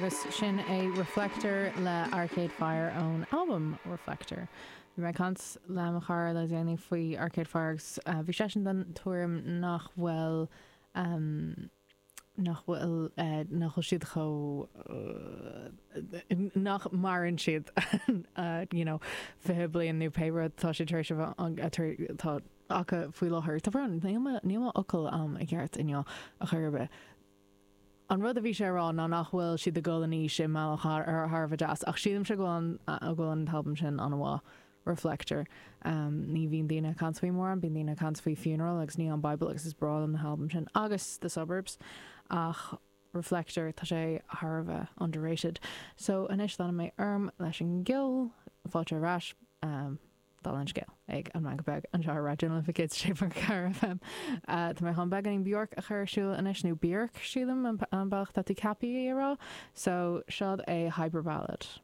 Agus sin é Reflector le Arcade Fire ón albam Reflector. Bhí mé ag caint le mo chara le déanaí faoi Arcade Fire agus bhí seisean den tuairim nach bhfuil nach bhfuil nach bhfuil siad chomh nach maireann siad you know 20 bliain nó pé rud tá siad tar éis a bheith atá acu faoi láthair. Tá brón, níl mo níl mo fhocail a'm i gceart inniu a chor ar bith. An rud a bhí sé a rá ná nach bhfuil siad ag dul in aois i mbealach thar a bheith deas ach sílimse go bhfuil an go bhfuil an t-albam sin an-mhaith. Reflector. Ní bhíonn daoine ag caint faoi mórán, bíonn daoine ag caint faoi Funeral agus Neon Bible agus is breá liom na halbaim sin agus The Suburbs ach Reflector tá sé thar a bheith underrated. So anois leanfaidh mé orm leis an gceol, fáilte ar ais, dála an scéil, ag An Meangadh Beag anseo ar Raidió na Life 106.4 FM. Tá mé chun beagáinín Bjork a chur ar siúl anois, nó Björk sílim an bealach atá tú ceaptha í a rá, so seod é Hyperballad.